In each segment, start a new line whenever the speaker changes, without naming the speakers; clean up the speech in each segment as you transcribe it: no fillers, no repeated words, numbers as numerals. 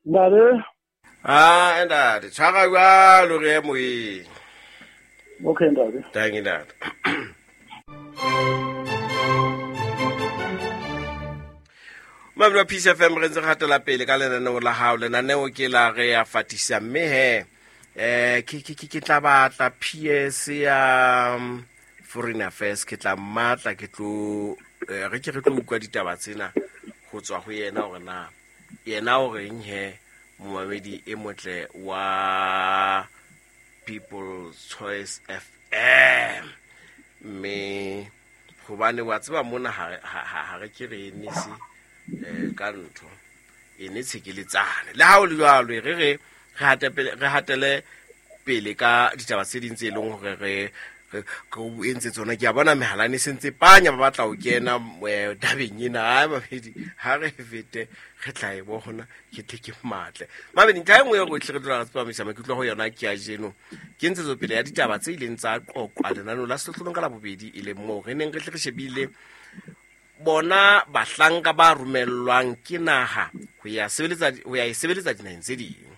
Ntate.
Ah, ntate, tshwara jwalo re ye moyeng.
Okay, ntate.
Thank you, ntate. Mamelo wa Peace FM re ntse re hatela pele ka lenaneo la hao. Lenaneo ke la re ya fatisa mme he ke ke ke ke tla batla PS ya Foreign Affairs, ke tla mmatla ke tlo re ke re tlo utlwa ditaba tsena ho tswa ho yena hore na yena o reng he momamedi e motle wa People's Choice FM. Mme hobane wa tseba mona ha re ke re enese ka ntho e ne tshekeletsane. Le ha o le jwalo, e re re hatele pele ka ditaba tse ding tse leng hore re o entse tsona. Ke a bona mehala e sentse panya ba batla ho kena tabeng ena. Ai babedi ha re fete re tla e bona ke tle ke matle. Mabedi ntlha e nngwe e rotlhe re tlola re tsepamisa maikutlo ho yona ke ya jeno ke ntshetsopele ya ditaba tse ileng tsa qoqwa lenaneo la sehlohlolong ka Labobedi, e leng moo re neng re tle re shebile bona bahlanka ba romellwang ke naha ho ya sebeletsa, ho ya e sebeletsa dinaheng tse ding.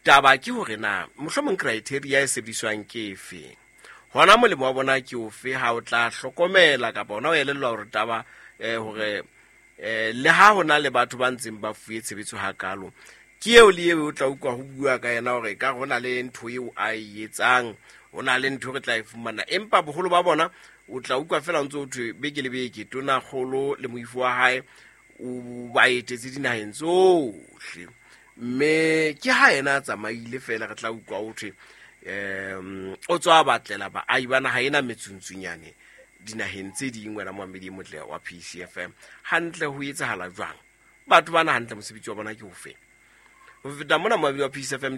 Taba ke hore na mohlomong criteria e sebediswang ke efe, hona molemo wa bona ke ofe ha o tla hlokomela kapa hona o elellwa hore taba hore le ha hona le batho ba ntseng ba fuwe tshebetso hakalo, ke eo le eo o tla utlwa ho bua ka yena hore ka hona le ntho eo a e etsang, ho na le ntho re tla e fumana. Empa boholo ba bona o tla utlwa fela o ntse o thwe beke le beke tonakgolo le moifo wa hae o ba etetse dinaheng tsohle, mme ke ha yena a tsamaile fela re tla utlwa o thwe o tswa batlela baahi ba naha ena metsuntsunyane dinaheng tse ding. Wena moamedi e motle wa PCFM, hantle ho etsahala jwang? Batho bana hantle mosebetsi wa bona ke ofe? Ho feta mona moamedi wa PCFM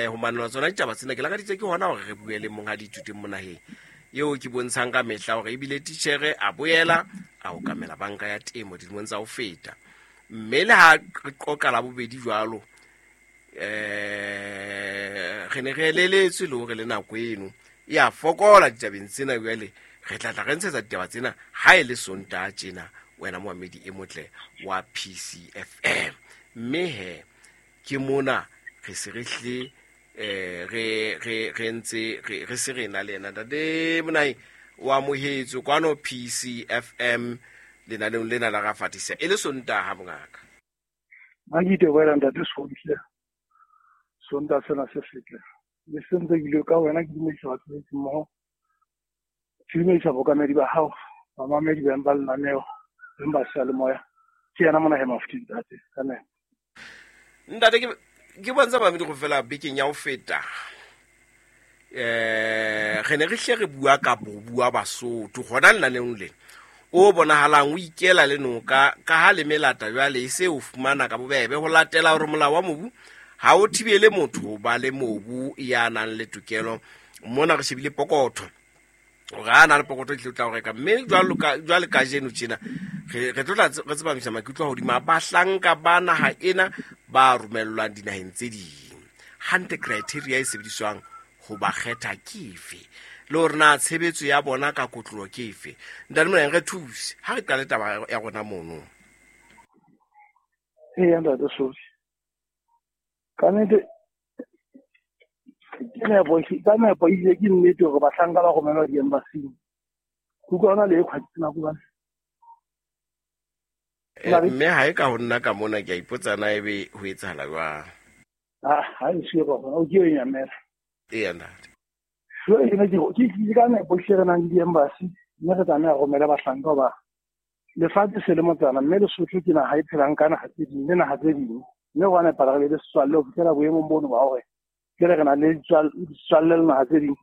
ho manela tsona ditaba tsena, ke lakaditse ke hona hore re bue le monghadi Ithuteng Monaheng eo ke bontshang ka mehla hore ebile titjhere a boela a okamela banka ya temo dilemong tsa ho feta. Mme le ha re qoqa la bobedi jwalo, re ne re eleletswe le hore le nako eno e a fokola ditabeng tsena. Jwale re tla tla re ntshetsa ditaba tsena ha e le Sontaha tjena, wena moamedi e motle wa PCFM. Mme he ke mona re se re hle re ntse re se re na le yena. Ntate Monaheng, o amohetswe kwano PCFM lenaneong lena la Rafatisa e le Sontaha mongaka.
Ha ke itebohela ntate Sohle, Sontaha sena se setle. Le se ntse ke ile ka wena ke dumedisa batho ba mmoho. Ke dumedisa bookamedi ba hao, bamamedi ba ba lenaneo, beng ba seyalemoya. Ke yena Monaheng Mafuteng ntate. Amen.
Ntate ke bontsha bamedi go fela bekeng ya ho feta. Re ne re hle re bua ka bobu wa Basotho hona lenaneong lena o bonahalang o ikela le noka ka ha le melata jwale e se o fumana ka bobebe ho latela hore molao wa mobu ha o thibele motho ho ba le mobu ya nang le tokelo. Mona re shebile pokotho hore ha na le pokotho e tla o reka, mme jwale kajeno tjena re tlo tla re tsepamisa maikutlo hodima bahlanka ba naha ena ba romellwang dinaheng tse ding. Hantle criteria e sebediswang ho ba kgetha ke efe, le hore na tshebetso ya bona ka kotlolo ke efe. Ntate Monaheng, re thuse ha re qale taba ya rona mono.
Eya ntate Sofi, ka nnete ke nepo, ka nepo ebile ke nnete hore bahlanka ba romelwa di-embassy-ing. Ke utlwa hona le e kgwatsi nako bane.
Mme ha e ka ho nna ka mona ke a ipotsa na ebe ho etsahala jwang.
Ha e siyo ka hona, o ke e nyamela.
Eya ntate.
Jwale ke ne ke ke ka nepo hle re nang le di-embassy, mme re tlameha ho romela bahlanka hoba lefatshe se le motsana, mme Lesotho ke naha e phelang ka naha tse ding le naha tse ding. Mme ho a nepahala re be le setswalle ho fihlela boemong bono ba hore jwale re na le setswalle le naha tse ding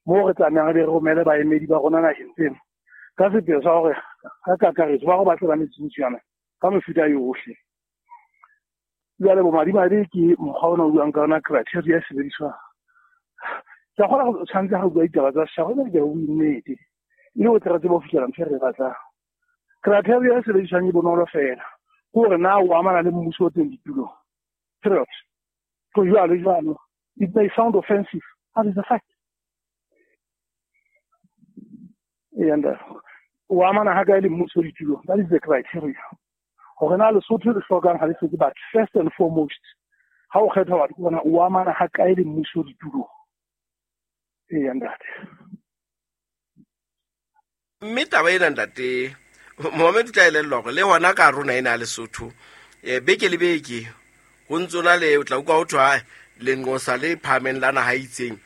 moo re tlamehang re be re romele baemedi ba rona naheng tsena ka sepheo sa hore ka kakaretso ba go batle ba metsuntsunyana ka mefuta yohle. Jwale bomadimabe ke mokgwa ona o buang ka ona, criteria e sebediswang. Ke a kgona go tshwanetse ga bua ditaba tsa setjhaba, mme ke bue nnete e le ho tle re tsebe ho fihlela ntho e re e batlang. Criteria e sebediswang e bonolo fela, ke hore na o amana le mmuso o teng ditulong. Period. Go jwalo jwalo. It may sound offensive, but it's a fact. And o amana ha kae le mmuso ditulong, that is the criteria. Hore na Lesotho le hlokang ha le hloke batho, first and foremost. Ha o kgethwa batho ke bona o amana ha kae le mmuso ditulong. Eya ntate.
Mme taba ena ntate Mohammed o tla elellwa hore le hona ka rona ena ya Lesotho beke le beke ho ntso na le o tla utlwa ho thwe lenqosa le phahameng la naha e itseng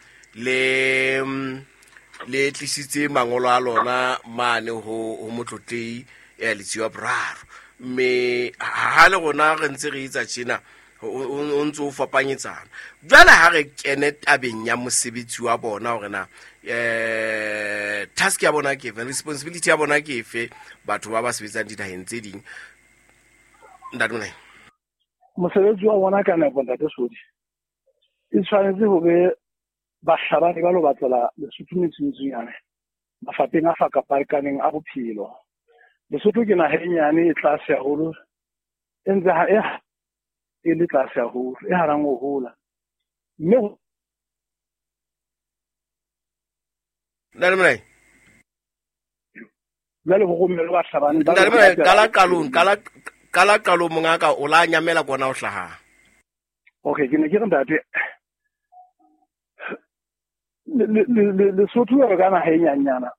le tlisitse mangolo a lona mane ho motlotlei Letsie wa Boraro. Mme ha le rona re ntse re etsa tjena o ntse o fapanyetsana. Jwale ha re kene tabeng ya mosebetsi wa bona hore na task ya bona ke efe, responsibility ya bona ke efe, batho ba ba sebetsang dinaheng tse ding. Ntate Monai.
Mosebetsi wa bona ka nepo ntate Sodi e tshwanetse ho be bahlabani ba lo batlela Lesotho metsuntsunyane mafapheng a fakapakaneng a bophelo. Lesotho ke naha e nyane e tlase haholo, e ntse ha e le tlase haholo, e hanang ho hola. Mme
Ntate Monai.
Jwale ho romelwe bahlabani ba
Ntate Monai, qala qalong mongaka o la nyamela kona o hlahang.
Okay, ke ne ke re ntate Lesotho jwalo ka naha e nyenyana,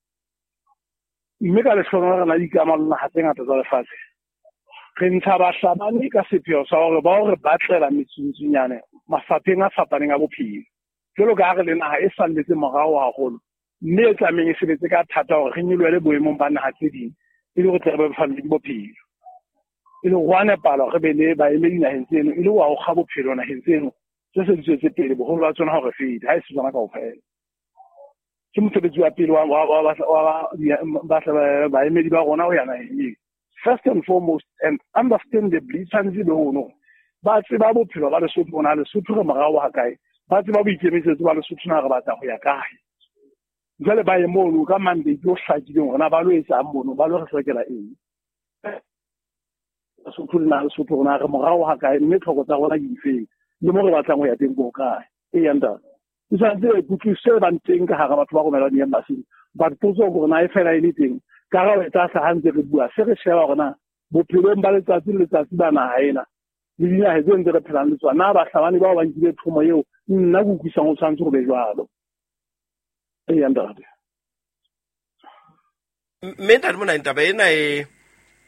mme ka lehlohonolo re na le dikamano le naha tse ngata tsa lefatshe. Re ntsha bahlabani ka sepheo sa hore ba hore batlela metsuntsunyane mafapheng a fapaneng a bophelo. Jwalo ka ha re le naha e salletse morao haholo, mme e tlamehang e sebetse ka thata hore re nyolohele boemong ba naha tse ding, e le hore tle re bebofalle bophelo. E le ho a nepala hore re be le baemedi naheng tseno, e le ho kga bophelo naheng tseno tse se di tswetse pele, boholo ba tsona hore fete, ha e se tsona kaofela. Ke mosebetsi wa pele wa baemedi ba rona ho ya naheng eo. First and foremost, and understandably, tshwanetse be hono ba tseba bophelo ba Lesotho, bona Lesotho re morao ha kae, ba tseba boikemisetso ba Lesotho na re batla ho ya kae. Jwale ba ye mono ka mandate o hlakileng hore na ba lo etsang mono, ba lo re hlokela eng. Lesotho le na Lesotho rona re morao ha kae, mme tlhoko tsa rona ke difeng, le mo re batlang ho ya teng ko kae. Eya ntate. E tshwanetse kutlwisiso e bang teng ka hara batho ba romelwang di-embassy-ing. But potso ke hore na e fela e le teng. Karabo e tla hlaha ntse re bua, se re sheba hore na bophelong ba letsatsi le letsatsi ba naha ena le dinaha tse ntse re phelang le tsona, na bahlabani bao ba nkile thomo eo nna ke utlwisang ho tshwanetse ho be jwalo. Eya ntate.
Mme ntate Monai, taba ena e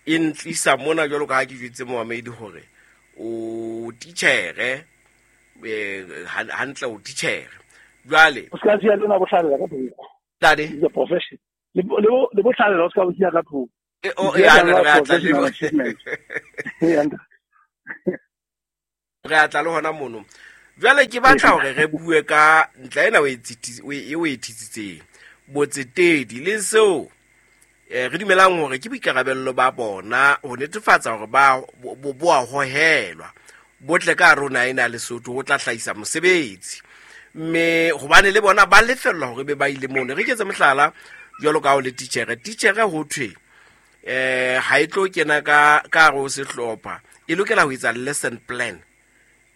ntlisa mona jwalo ka ha ke jwetse momamedi hore o titjhere, hantle o titjhere. Jwale
o ska siya lena bohlalela ka thoko.
Ntate.
It's a profession. Le bohlalela o ska bo siya ka thoko.
Re a tla le hona mono. Jwale ke batla hore re bue ka ntla ena o e thitsitseng, botsetedi le seo re dumelang hore ke boikarabello ba bona ho netefatsa hore ba bo a hohelwa botle ka rona ena Lesotho ho tla hlahisa mosebetsi. Mme hobane le bona ba lefellwa hore be ba ile mono. Re ketse mohlala jwalo ka ho le titjhere. Titjhere ho thwe ha e tlo kena ka hare ho sehlopha, e lokela ho etsa lesson plan.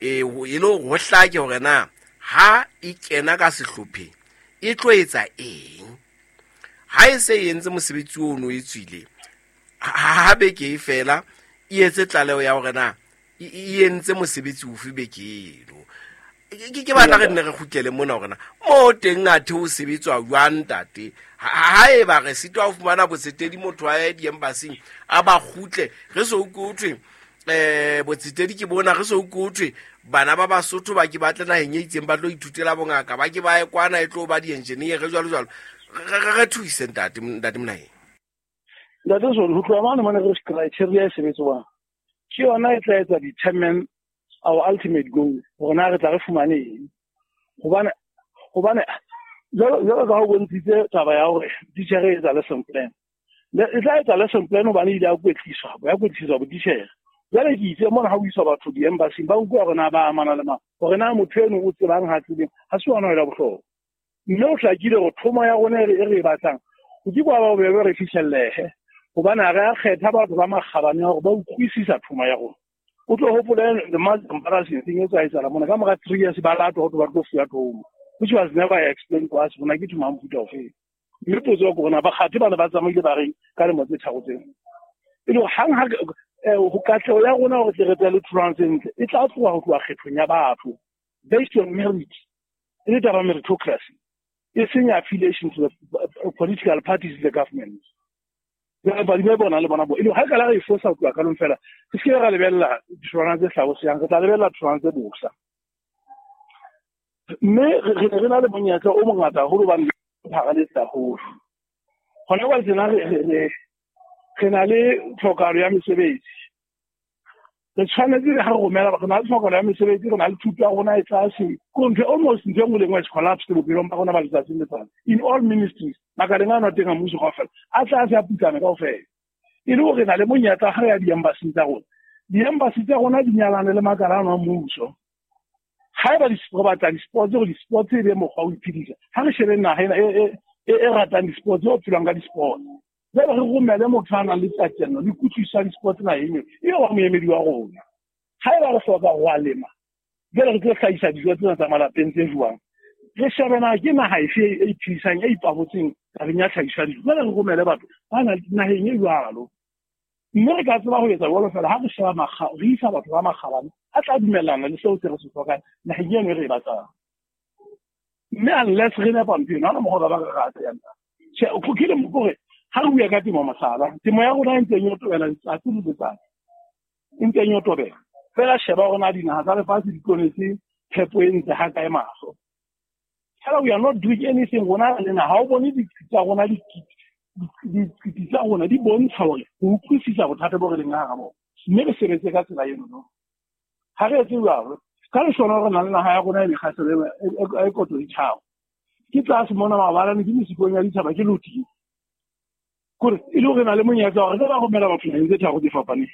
E le hore ho hlake hore na ha e kena ka sehlopheng e tlo etsa eng. Ha e se e entse mosebetsi ono e tswile, ha beke e fela e etse tlaleho ya hore na e entse mosebetsi ofe beke eno. Ke batla re nne re kgutlele mona hore na mo teng athe ho sebetswa jwang ntate. Ha eba re sitwa ho fumana botsetedi motho a ye di-embassy-ing a ba kgutle, re so utlwe ho thwe botsetedi ke bona, re so utlwe ho thwe bana ba Basotho ba ke batle naheng e itseng ba tlo ithutela bongaka, ba ke ba ye kwana e tlo ba di-engineer jwalo jwalo. Re thuse ntate Monai.
Ntate Sodi, ho tloha mane mane re criteria e sebetswang ke yona e tla etsa determine our ultimate goal, hore na re tla re fumane eng. Hobane jwalo ka ho bontshitse taba ya hore titjhere e etsa lesson plan, e tla etsa lesson plan hobane ile ya kwetliswa botitjhere. Jwale ke itse mona ha o iswa batho di-embassy-ing ba utlwa hore na ba amana le mang, hore na motho eno o tsebang ha tsebeng, ha se yona e la bohlokwa. Mme o hlakile hore thomo ya rona e re e batlang ho ke kwa ba bobebe re fihlellehe, hobane ha re a kgetha batho ba makgabane hore ba utlwisisa thomo ya rona. O tlo hopole the most embarrassing thing e tsa etsahala mona ka mora 3 years ba latwa ho ba tlo fuwa thomo, which was never explained to us hore ke thomo ya mofuta ofe. Mme potso ke hore na bakgathe ba ne ba tsamaile ba reng ka lemo tse tharo tseo. E le hang ha ho katleho ya rona hore tle re tle le tholwana tse ntle e tla tloha ho tloha kgethong ya batho based on merit, e le taba meritocracy, e seng affiliation to the political parties, the government. Badimo bona le bona bo e le ha ka la re fosa ho tloha kalong fela, re se ra lebella ditholwana tse hlabosehang, re tla lebella ditholwana tse bosa. Mme re ne re na le monyetla o mongata haholo hobane pharaletse haholo. Hona jwale tjena re na le tlhokahalo ya mesebetsi. Re tshwanetse ha re romela, re na le tlhokahalo ya mesebetsi, re na le thuto ya rona e tlase. Ko ntho almost ntho e nngwe le nngwe is collapsed bophelong ba rona ba letsatsi le letsatsi. In all ministries, makaleng a teng a mmuso kaofela, a tlase a putlame kaofela. E le hore re na le monyetla ha re ya di-embassy tsa rona. Di-embassy tsa rona di nyalane le makala ano a mmuso. Haeba re batla di-sports, hore di-sports e be mokgwa wa ho iphedisa, ha re shebe naha ena e ratang di-sports, e phelang ka di-sports. Jwale re romele motho a nang le tatello le kutlwisiso ya di-sports naheng eo, eo wa moemedi wa rona. Haeba re hloka ho a lema, jwale re tlo hlahisa dijo tsena tsa malapeng tse jwang? Re shebe na ke naha efe e iphodisang, e ipabotseng tabeng ya tlhahiso ya dijo. Jwale re romele batho ba naheng e jwalo. Mme re ka tseba ho etsa jwalo fela ha re sheba re isa batho ba makgabane a tla dumellana le seo se re se hlokang naheng eno e re e batlang. Mme unless re nepa ntho eno, ha hona mokgwa ba re rata ya nna. Tjhe, ke le hore ha re bua ka temo mohlala, temo ya rona e ntseng e otobela letsatsi le letsatsi. E ntseng e otobela. Fela sheba hore na dinaha tsa lefatshe di tlonetse phepo e ntle ha kae mahlo. Fela we are not doing anything rona le naha. Ha o bone ditsi tsa rona, ditsi tsa rona di bontsha hore ho utlwisisa bothata bo re leng ka hara bona. Mme re sebetse ka tsela eno no. Ha re etse jwalo, ka lehlohonolo re na le naha ya rona e mekgahlelo e koto ditjhaba. Ke tlase mona mabalane, ke mesikong ya ditjhaba, ke loting. Kore e le hore re na le monyetla wa hore re ba romela batho naheng tse tharo tse fapaneng.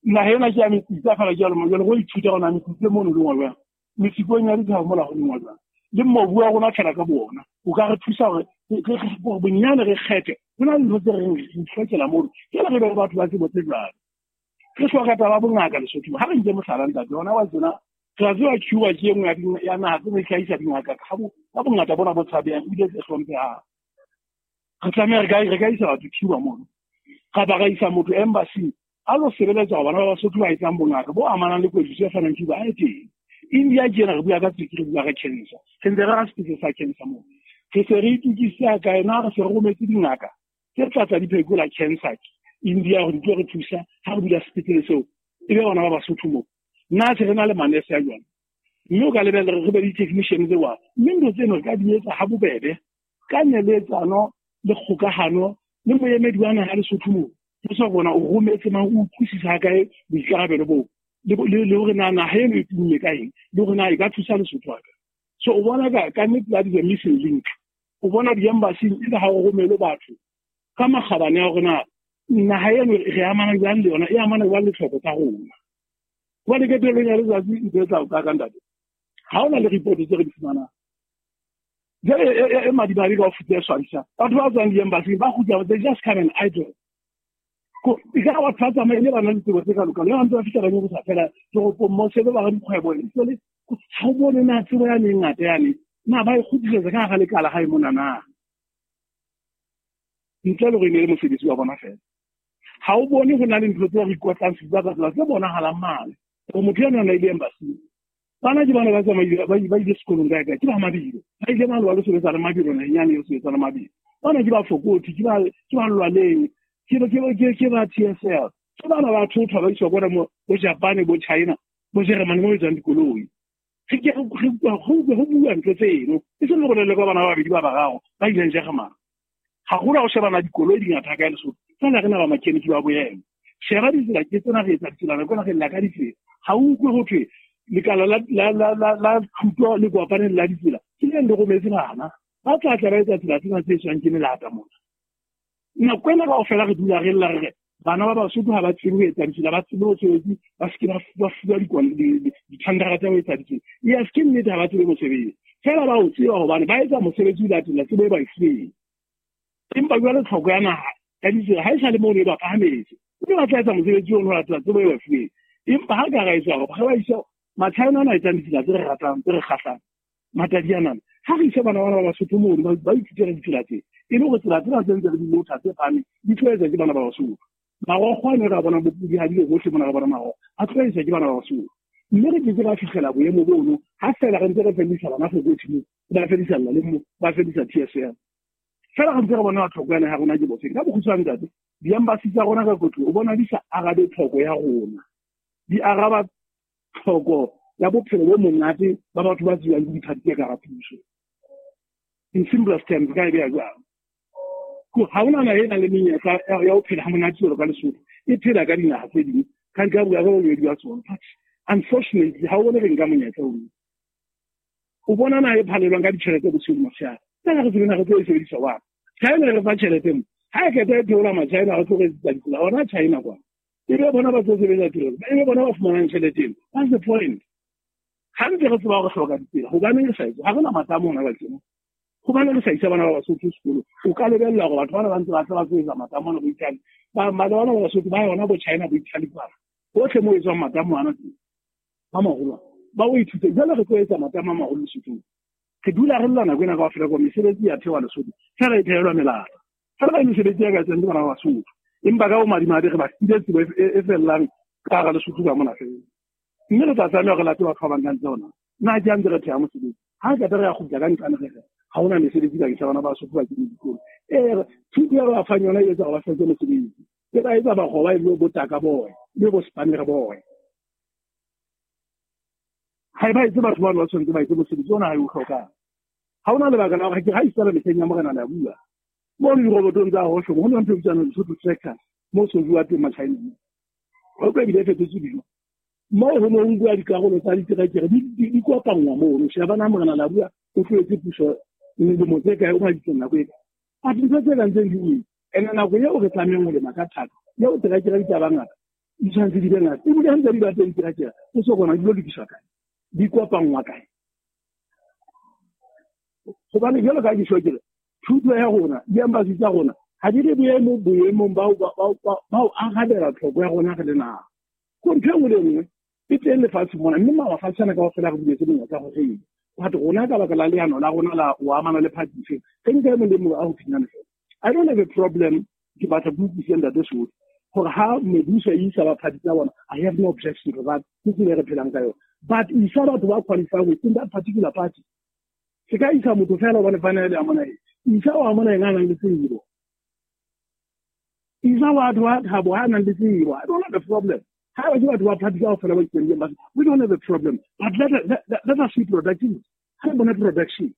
Naha ena ke ya metsitsa fela ke ya lemo, jwale re ithuta hore na metsitsa mono le ngwa jwang. Mesikong ya ditjhaba mola ho lengwa jwang. Le mobu wa rona fela ka bo ona o ka re thusa hore re bonyane re kgethe. Ho na le ntho tse reng re itlhokela mono. Jwale re be le batho ba tsebo tse jwalo. Re hloka taba ya bongaka Lesotho. Ha re nke mohlala ntate, hona wa tsena, re a tseba Cuba ke e nngwe ya naha tse ne hlahisa dingaka ka bongata bona bo tshabehang ebile tse hlomphehang. Re tlameha re ka isa batho Cuba mono. Kapa ra isa motho embassy a lo sebeletsa hore bana ba Basotho ba etsang bongaka bo amanang le kwetliso e fanang Cuba a e teng. India ke ena re bua ka tswekere, re bua ka cancer. Re ntse re ra sepetlele sa cancer moo. Re se re itokisitse kae na re se re rometse dingaka tse tla tla di phekola cancer India hore di tlo re thusa ha re bula sepetlele seo. E be bona ba Basotho moo. Nna se re na le manese a jwang. Mme o ka lebella re be le di-technician tse jwang. Mme ntho tseno re ka di etsa ha bobebe ka neletsano le kgokahano le moemedi wa naha Lesotho moo. Ho sa rona o rometse mang, o utlwisisa ha kae boikarabelo boo. Le hore na naha eno e tumme ka eng, le hore na e ka thusa Lesotho ha kae. So o bona ka nnete that is a missing link. O bona di-embassy e le ha o romele batho ka makgabane a hore na naha eno re amana jwang le yona, e amana jwang le tlhoko tsa rona. Hobane qetellong ya letsatsi ntho e tla o ka ntate, ha hona le report tse re di fumanang. Jwale e madimabe ka ho feta e swabisang. Batho ba tswang di-embassy ba kgutla, they just come and idle. E ka batho ba tsamaile ba na le tsebo tse ka lokang, le ba ntse ba fihla ba nyorosa fela toropong mo se ba dikgwebo, e se le ha o bone na tsebo yane e ngata yane, na ba e kgutlisetsa ka hara lekala hae mona na. Ntle le hore e ne le mosebetsi wa bona fela. Ha o bone ho na le ntho tse re ikotlang sefuba ka tsela tse bonahalang mane. Hore motho eno a na ile embassy. Bana ke bana ba tsamaile, ba ile sekolong kae kae, ke ba Mabilo. Ba ile mane ba lo sebetsa le Mabilo, naheng yane eo sebetsa le Mabilo. Bana ke ba Fokothi, ke ba Lwaleng, ke ba TSL. Ke bana ba thothwa ba iswa kwana mo, bo Japan, bo China, bo Germany mo etsang dikoloi. Re ke re ho bua ntho tseno. E seng hore le ka bana ba babedi ba bararo ba ileng Germany. Haholo ha o shebana dikoloi di ngata kae Lesotho. Fela re na ba mechanic ba boemo. Sheba ditsela ke tsena re etsa ditsela, nako ena re lla ka ditsela. Ha o utlwe ho thwe lekala la thuto le kopaneng la ditsela ke le le rometse bana ba tla tla ba etsa tsela tsena tse tswang ke melata mona. Nako ena kaofela re dula re lla re re bana ba Basotho ha ba tsebe ho etsa ditsela, ba tsebe mosebetsi, ba se ke ba fuwa dithandara tsa ho etsa ditsela. Yes, ke nnete ha ba tsebe mosebetsi. Fela ba o tseba hobane ba etsa mosebetsi o latela tsebo e ba e fuweng. Empa jwale tlhoko ya naha ya ditsela ha e sa le mono e ba phahametse. Mme ba tla etsa mosebetsi ono ho latela tsebo e ba fuweng. Empa ha ka ra etsa hore re ba ise Machina ana a etsang ditsela tse re ratang, tse re kgahlang, Matadianana. Ha re ise bana bana ba Basotho mono, ba ithutele ditsela tse. E le hore tsela tsena tse ntse re di lotha tse phahameng, di tlo etswa ke bana ba Basotho. Marokgo a ne re a bona bopodihadile bohle mona re bona marokgo a tloaiswa ke bana ba Basotho. Mme re ke ke ra fihlela boemo bono ha fela re ntse re fellisa bana Fokothi mo, ba fellisa Laleng mo, ba fellisa TSL. Fela re ntse re bona tlhoko ya naha ya rona ke bofeng. Ka bokgutshwane ntate, di-embassy tsa rona ka kotlo o bona di sa arabe tlhoko ya rona. Di araba tlhoko ya bophelo bo monate ba batho ba tsebang ke diphathi tse ka hara puso. In simplest terms, ka e beha jwang? Ha hona naha e nang le menyetla ya ho phela ha monate jwalo ka Lesotho, e phela ka dinaha tse ding, ka ka bua ka bolwedi ba tsona. But unfortunately, ha o bone re nka monyetla ono. O bona naha e phalelwang ka ditjhelete bosiu le motshehare. Tsena re tsebe re tlo e sebedisa wa. China e re fa tjhelete mo. Ha e qeta e theola ma-China re tlo re etsetsa ditsela hona China kwa. E be bona ba tlo sebetsa tirelo, e be bona ba fumanang tjhelete eno. What's the point? Ha ntse re tseba hore re hloka ditsela, hobaneng re sa etse? Ha re na matamo hona jwale. Hobane re sa isa bana ba Basotho sekolo, o ka lebella hore batho bana ba ntse ba tla ba tlo etsa matamo ana bo Italy. Ba bana ba Basotho ba yona bo China bo Italy kwana. Hohle moo etswang matamo ana teng. Ba maholo. Ba o ithute. Jwale re tlo etsa matamo a maholo Lesothong. Re dula re lla nako ena kaofela kwa mesebetsi ya thewa Lesotho. Fela e thehelwa melata. Fela e mesebetsi ya ka etswang ke bana ba Basotho. Empa ka bomadimabe re ba file tsebo e fellang ka hara Lesotho ka mona fela. Mme re tla tlameha re late batho ba bang ka ntle hona. Nna ke a ntse re theha mosebetsi. Ha re qeta re ya kgutla ka nqane re re ha hona mesebetsi bakeng sa bana ba Basotho ba keneng dikolo. Ee, thuto ya ba fang yona e etsa hore ba hloke mosebetsi. E ba etsa bakgoba e be botaka boy, e be bo spanner boy. Ha e ba etse batho bano ba tshwanetse ba etse mosebetsi ona ha e o hlokang. Ha hona lebaka la hore ke ha isala mehleng ya morena le a bua. Mo dirobotong tsa hohle ho na ntho e bitswang Lesotho tractors mo so bua teng ma-China. Ho tlo ebile e fetotswe dijo. Moo ho ne ho nkuwa dikarolo tsa diterekere di kopanngwa mono. Sheba na morena la bua o tlohetse puso dilemo tse kae, o maditseng nako e kae. But ntho tse kang tseng di wele. Ene nako eo re tlamehang ho lema ka thata, eo terekere di tla ba ngata, di tshwanetse di be ngata. Ebile ha ntse di ba teng diterekere, o so kona di lo lokiswa kae, di kopanngwa kae. Hobane jwalo ka ke tjho ke re, thuto ya rona, di-embassy tsa rona, ha di re boemong ba ho arabela tlhoko ya rona re le naha. Ko ntho e nngwe le nngwe e teng lefatsheng mona, mme mafatshe ana kaofela re buletse monyetla hore re etse. But rona ka baka la leano la rona la ho amana le party efe, re nka e mong le mong a ho phinyana fela. I don't have a problem, ke batla ke utlwisise ntate Sohle, hore ha mebuso e isa ba party tsa bona, I have no objection to that, ke tsela e re phelang ka yona. But isa batho ba qualify within that particular party. Se ka isa motho fela hobane fana le a mona eng. Isa wa mona eng a nang le tsebo. Isa batho ba thabo ha nang le tsebo. I don't have a problem. Ha ba ke batho ba party kaofela ba itseng ba, we don't have a problem. But let us see productivity. Ha re bone production.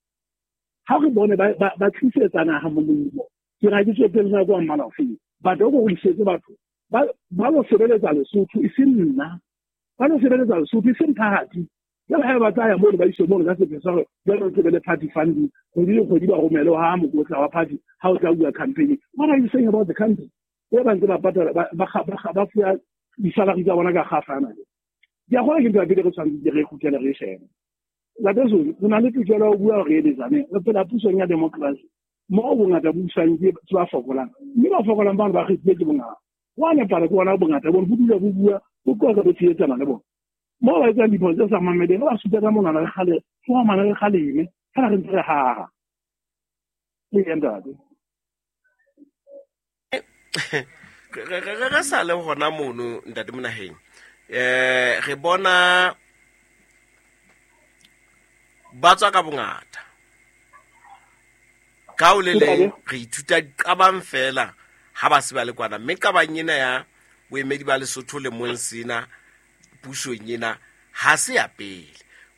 Ha re bone ba tlisetsa naha molemo. Ke ra ke tswetse le nako mmala ofeng. But o go isetse batho ba lo sebeletsa Lesotho e seng nna. Ba lo sebeletsa Lesotho e seng party. Jwale ha ba tsaya mono ba iswe mono ka sepheo sa hore jwale re be le party funding, kgwedi le kgwedi ba romele ha mokotla wa party ha o tla bua campaign. What are you saying about the country? E ba ntse ba patala ba fuwa di-salary tsa bona ka kgafana. Ke a kgona ke ntho ya pele re tshwanetse re kgutlele re shebe. Ntate Zulu, re na le tokelo ya ho bua hore re eletsane. Re phela pusong ya democracy moo bongata bo busang ke ba fokolang, mme ba fokolang bano ba kgethile ke bongata. Ho a nepala ke bona bongata bono bo dula bo bua, bo qoqa, bo tshehetsana le bona. Moo ba etsang diphoso tse sa mameleng, re ba supa ka monwana re kgale, re re kgaleme, fela re ntse re haha. Ee, ntate.
Re sa le hona mono ntate Monaheng, re bona ba tswa ka bongata ka o le leng re ithuta diqabang fela ha ba se ba le kwana, mme qabang ena ya boemedi ba Lesotho le mong sena pusong ena ha se ya pele.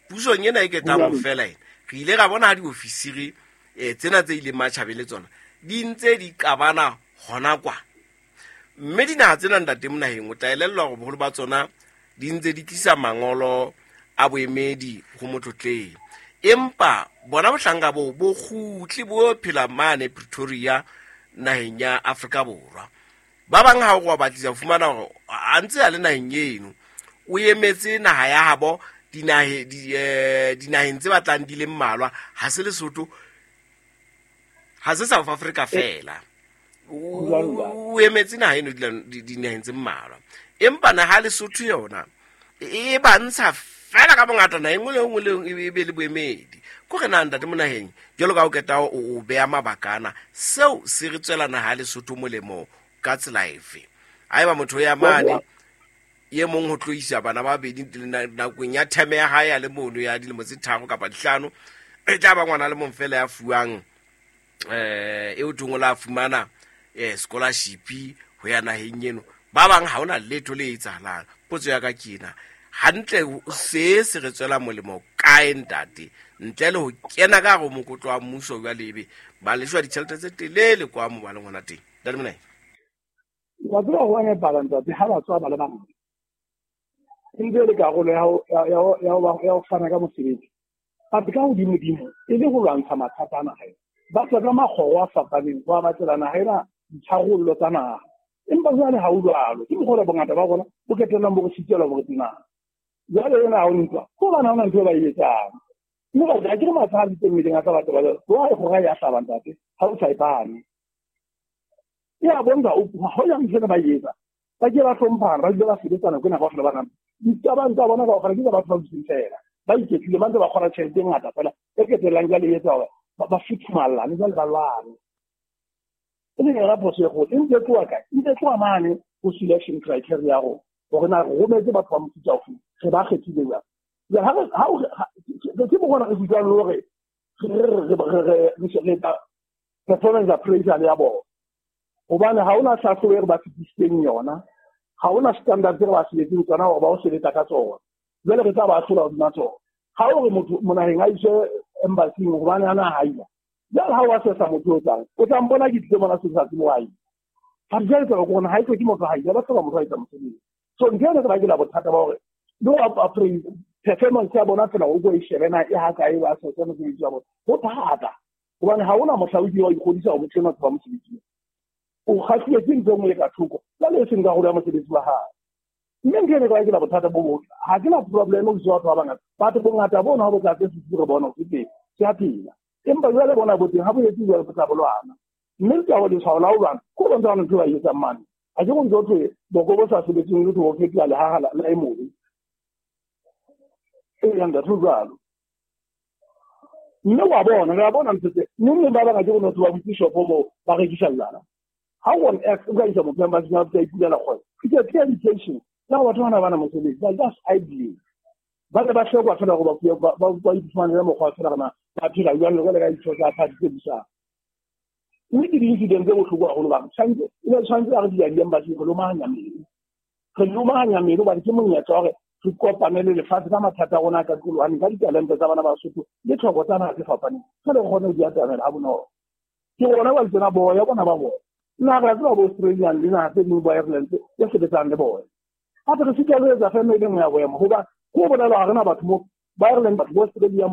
Pusong ena e ketang ho fela ena, re ile ra bona ha diofisiri tsena tse ileng matjhabeng le tsona di ntse di qabana hona kwa. Mme dinaha tsena ntate Monaheng o tla elellwa hore boholo ba tsona di ntse di tlisa mangolo a boemedi ho motlotleng, empa bona bohlanka boo bo kgutle bo phela mane Pretoria naheng ya Afrika Borwa. Ba bang ha o wa batlisa ho fumana hore a ntse a le naheng eno, o emetse naha ya habo dinaheng tse batlang di le mmalwa. Ha se Lesotho, ha se South Africa fela, o emetse naha eno dinaheng tse mmalwa. Empa naha Lesotho yona e ba ntsha fela ka bongata naha e nngwe le nngwe le nngwe e be le boemedi. Ko re na ntate Monaheng, jwalo ka o qeta o beha mabaka ana, seo se re tswela naha Lesotho molemo ka tsela efe? Haeba motho ya mane ye mong ho tloisa bana ba babedi nakong ya theme ya hae ya le mono ya dilemo tse 3 kapa 5, e tla ba ngwana le mong fela ya fuwang e o thong o la fumana scholarship ho ya naheng eno. Ba bang ha hona letho le etsahalang. Potso ya ka ke ena, hantle se se re tswela molemo kae ntate, ntle le ho kena ka hare ho mokotlo wa mmuso jwale ebe ba leshwa ditjhelete tse telele kwa mo ba leng hona teng? Ntate Monai.
Wa tseba ho nepahala ntate, ha ba tswa ba le bangata e ntse e le karolo ya ho fana ka mosebetsi. Gape ka hodimodimo e le ho lwantsha mathata a naha ena. Ba tswa ka makgoro a fapaneng ho a batlela naha ena ditharollo tsa naha. Empa jwale ha ho jwalo, ke mokgwa bongata ba rona bo qetellang bo re sitelwa bo re naha. Jwale ena ha o ntwa, ko hobane ha hona ntho e ba e etsang. Mme batho ha ke re matha a diteng mmeleng a tsa batho ba jwalo, wa e kgora ya hlaba ntate, ha o sa e pane. E a bontsha ha o ya ntho ena ba e etsa, ba ke ba hlomphana, ba dule ba sebetsana ko nako kaofela ba nang. Ditabang tsa bona kaofela ke tsa batho ba dutseng fela, ba iketlile, ba ntse ba kgona tjhelete e ngata fela, e qetellang jwale e etsa hore ba futhumallane jwale ba lwane. E leng yona phoso e kgolo. E ntse e tloha kae? E ntse e tloha mane ho selection criteria ya rona, hore na re rometse batho ba mofuta ofe, re ba kgethile jwang. Jwale ke mokgwa re utlwang le hore re etsa performance appraisal ya bona, hobane ha hona hlahlobo e re ba fetisitseng yona, ha hona standard tse re ba sebetseng tsona hore ba o sebetsa ka tsona. Jwale re tla ba ahlola hodima tsona. Ha o re motho monaheng a iswe embassy hobane ana ha ila, jwale ha o assessa motho o tlang, o tla mpona ke tlile mona se sa tsebe wa ila. Ha jwale taba ke hore ha e hloke motho ha ila, ba hloka motho a etsa mosebetsi. So ntho ena ke ba ke la bothata ba hore le ho appraise performance ya bona fela o ko e shebe na e ha kae, ba assesse mosebetsi wa bona. Ho thata hobane ha hona mohla o ile wa ikgodisa hore motho enwa tseba mosebetsi. O kgahluwe ke ntho e nngwe e ka thoko, jwale e seng karolo ya mosebetsi wa hae. Mme ntho ena ke la bothata bo botle. Ha ke na problem ho batho ba bangata. Batho bongata bona ha bo tla tse re bona ho teng, ke a phela. Empa jwale bona bo teng ha bo etse jwale bo tla bo lwana. Mme ke ho letshwao la ho lwana, ko bontsha hore ntho ba e etsang mane. Ha ke go ntse ho thwe boko bo sa sebetseng le ho fetola lehaha la e mobe. E yang ntate ho jwalo. Mme wa bona, re a bona ntho tse. Mme ba bangata ke bona ba butse shopo moo ba rekisa jwala. Ha on earth o ka isa motho embassy ya ipulela kgwebo. It's a clear indication ya batho bana ba na mosebetsi, ba just idling. Ba ne ba hlokwa fela hore ba iphumanele mokgwa fela hore na ba phela jwang le ka ditho tsa party tse busang. Mme ke di-incident tse bohloko haholo ba tshwanetse e be tshwanetse a re di ya di-embassy re lomahanya meno. Re lomahanya meno hobane ke monyetla wa hore re kopane le lefatshe ka mathata a rona a ka qolohaneng, ka ditalente tsa bana ba Basotho le tlhoko tsa naha tse fapaneng. Jwale re kgone ho di atamela ha bonolo. Ke rona ba tsena boya bona ba bona. Nna re a tseba bo Australian le naha tse ding bo Ireland tse sebetsang le bona. Hape re sitwa le ho etsa feme e le nngwe ya boemo hoba ko bolela ha rena batho mo ba Ireland, batho bo Australia.